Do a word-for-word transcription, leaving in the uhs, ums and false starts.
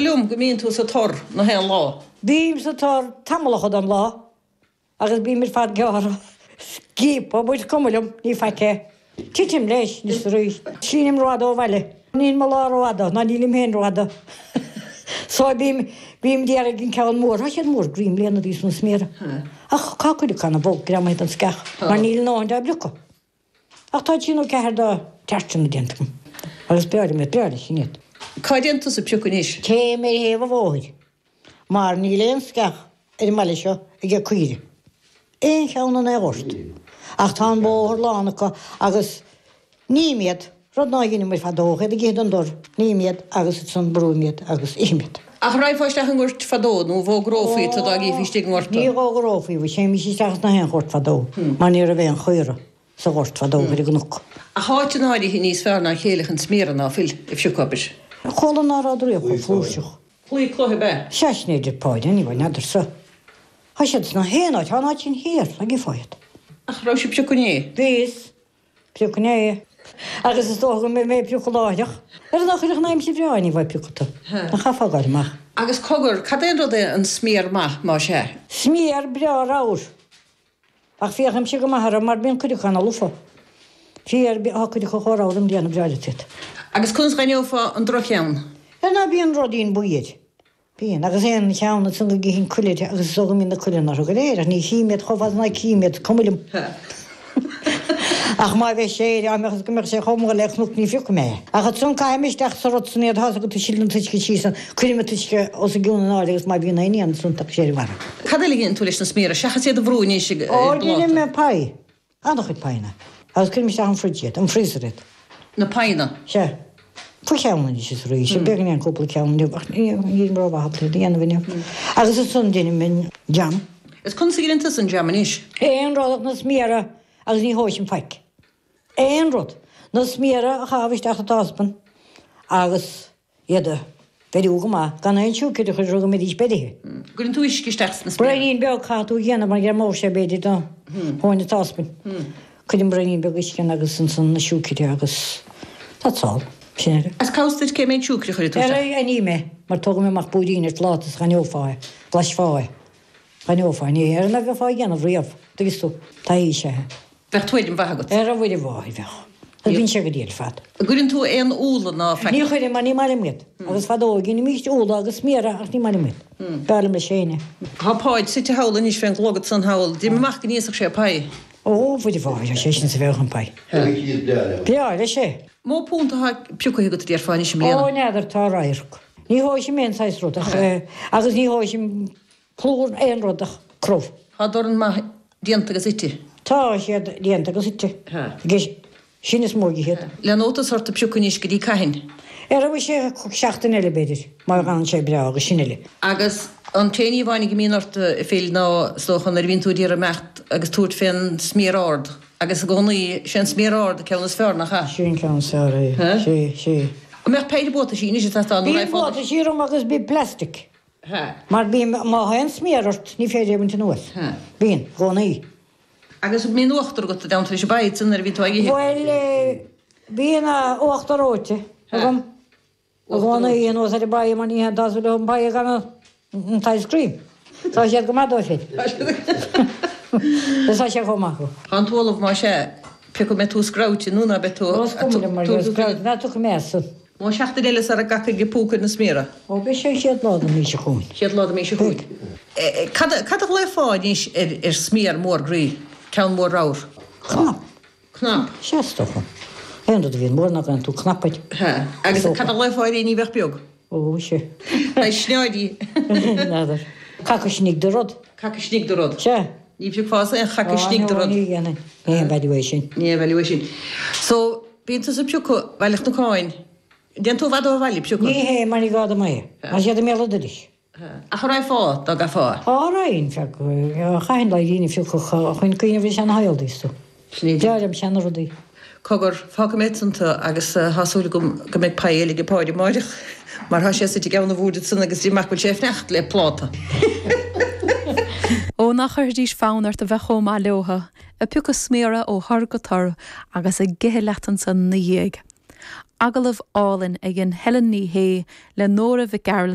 liom go mbíonn tú sa tor na haon lá. Bím sa tor tamallacha den lá agus bím ar fad gearrtha, sciobtha, but is cuma liom, ní faic é. Titim leis, anois arís. Sínim rófhada ó bhaile. Níl mo lá rófhada, ná nílim féin rófhada. So bím, bím d'iarraidh an ceann mór, tá siad mór groí i mbliana thíos na sméara. Ach tá cuid acu ana-bhog greamaithe den sceach, mar níl a ndóthain dá bpiocadh. Ach tá trí nó ceathair dá teartanna déanta agam. Agus b'fhearr liom iad, b'fhearr leis sin iad. Cá dtéann tusa ag piocadh anois? Téim ar thaobh an bhóthair, mar níl aon sceach ar an mbaile seo aige caoirigh. Aon cheann in aon ghort. Ach tá an bóthar lán acu agus ním iad, rud ná dheineamair fadó, iad ag ithe den dtor, ním iad agus ansan brúim iad agus ithim iad. Ach raghfá isteach i ngoirt fadó nó an bhfógrófaí tu dá gcífí istigh i ngort tu? Ní fhógrófaí, bhuel théimis isteach sna haon ghort fadó mar ní raibh aon chaora sa ghort fadó ar an gcnoc. Ach áiteanna áirithe níos fearr ná a chéile chun sméara ná fuil a phiocadh, abair. Chuala ná raibh riamh chomh flúirseach. Claí cloiche ab ea? Sea, sin é a deir Páid, anyway, n'fheadarsa. Tá siad sna haon áit, tá an áit sin thiar, ag gifeá iad. Ach raibh sibh ag piocadh inné? Bhíos. Piocadh inné. Agus is dócha go mbeidh mé ag piocadh láithreach. Ar an chuirfeadh an aimsir bhreá ní bheidh piocadh tú. Nach chaithfeá gabháil amach. Agus cogar, cad é an rud é an sméar maith, más ea? Sméar breá ramhar. Ach féachaimse go maith orthu mar bíonn cuid acu ana-lofa. Fíor, tá cuid acu chomh ramhar i mbliana, breá leat iad. Agus conas dh'aithneofá an droch-cheann? Ar ná bíonn ruidín buí air. Bíonn, agus aon cheann ansan go gcífinn cuil air agus is dócha go mbíonn na cuileanna orthu go léir, ach ní chím iad chomh fada is ná cím iad, is cuma liom. Ach má bheidh sé air, á mbeadh is go mbeadh sé chomh mór le cnoc ní phiocfaidh mé é. Ach ansan caithim isteach sa rud san iad, tá's agat, sileann an t-uisce síos ann, cuirim an t-uisce os a gcionn in airde agus má bhíonn aon éan ansan tagann sé ar an mara. Cad eile a dhéanann tú leis na sméara, seachas iad a bhrú anois ag Ó, deinim pláta? pie. An-chuid pieanna. Agus cuirim isteach an fridge iad, an freezer iad. Na pieanna? Sea. Faoi cheann anois is arís. Beagáinín cúpla ceann inniu ach nílim rómhaith ábalta iad a dhéanamh inniu. Agus ansan deinim an jam. Is conas a dheineann tusa an jam anois? Aon rud ach na sméara agus ní thomhaisim faic. Aon rud. Na sméara a chaitheamh isteach sa táspan agus iad a bheiriú go maith, gan aon siúicéir a chur orthu go mbeidís beirithe. Gcuireann tú uisce isteach sna sméara? Braoinín beag caithfidh tú a dhéanamh mar ghreamóidh sé b'fhéidir do thóin an táspain. Cuirim braoinín beag uisce ann agus ansan na siúicéir agus that's all. Sin é. Is cá bhfios duit cé méid siúicre a chuirfidh tú isteach? Ara aithním é mar tógaim amach púirín ar phláta is dh'aithneofá é, bhlaisfeá é. Dh'aithneofá é. Ní ar na bheifeá a dhéanamh riamh, dtuigeann tú. Taithí is ea é. Bheadh tuairim mhaith agat. Ar a Mhuire Mháthair, bheadh. Agus bíonn sé go diail ar fad. An gcuireann tú aon úlla ná faic? Ní chuirim, mar ní maith liom iad. Agus fadó dheinimíst úlla agus sméara ach ní maith liom iad. B'fhearr liom leis féin é. Tá Páid suite thall anois fén gclogad san thall. D'imigh amach go n-íosfadh sé pie. Ó, a Mhuire Mháthair, tá sé sin sa bheagán pie. Breá leis é. Mó punt atá pioctha agat a déarfá anois i mbliana? Ó, n'fheadar, tá radharc. Ní thomhaisim aon saghas rud ach, agus ní thomhaisim plúr aon rud ach crobh. Tá dorn maith déanta agus ite. Tá siad déanta agus ite. Agus sin is mó de iad. Le nótas ort ag piocadh anois go dtí cathain? Ar feadh sé seachtain eile, b'fhéidir, má fhanann sé breá agus sin uile. Agus an t-aon ní amháin go mbíonn ort a Phil ná is dócha nuair a bhíonn tú ag iarraidh imeacht agus tabhairt fén sméar ard agus i gcónaí sé an sméar ard an ceann is fearr, nach ea? Sin ceann is fearr é. Sé, sé. An mbeadh péire buataisí anois ag teastáil nó Bíonn buataisí orm agus bíonn plastic. Mar bíonn, má théann sméar ort, ní féidir é a bhaint anuas. Bíonn, i gcónaí. Agus an mbíonn uachtar agat i dteannta leis an bpaí ansan nuair a bhíonn tú á ithe? Bhuel, bíonn uachtar reoite agam i gcónaí anuas ar an bpaí mar ní haon tásúil an paí gan an t-ice cream. Tá siad go maith dóibh féin. Tá sé chomh maith acu. Tá an t-ualach más ea, pé acu an mbeidh tú screamhaite nó ná beidh tú. Ó, is cuma liom mar gheall screamhaite, ná tiocfaidh mé as san. Mó seachtain eile sara gcacfaidh an púca ar na sméara. Ó, beidh sé an chéad lá den mhí seo chugainn. Chéad lá den mhí seo chugainn. Cad, cad a ghlaofá anois ar, ar sméar mór groí? Ceann mór ramhar? Cnap. Cnap. Sea, is dócha. Aon rud a bhíonn mór nach nglaonn tú cnap air. Sea. Agus cad a ghlaofá ar éinní a bheadh beag? Ó, sea. Saghas sneáidí. N'fheadar. Caca istigh de rud. Caca istigh de rud. Sea. Ní phiocfása aon chaca istigh de rud. Ó, ní dhéanfainn. Ní haon value é sin. Ní haon value é sin. So, bíonn tusa ag piocadh Bhaile Chnocáin. Dtéann tú i bhfad ó bhaile ag piocadh? Ní hea, mar ní gá dom é. Tá siad i mbéal an dorais. Ach an raghfá, dá gcaithfeá? Á, raghainn, feadh, chaithfinn laidhrín a phiocadh chun cuimhneamh ar seana-shaol, is tú. Breá liom seana-rudaí. Cogar, fágfaidh mé ansan tú agus tá súil agam go mbeidh pie eile ag Páid amáireach mar tá sé suite i gceann an bhoird ansan agus deirim go bhfuil sé ag fanacht le pláta. Ó, nach gcuirfidís fonn ort a bheith chomh maith leotha, ag piocadh sméara ó thor go tor agus ag ithe leat ansan 'na dhiaidh. Agallamh álainn a dhein Helen Ní Shé le Nóra Mhic Gearailt.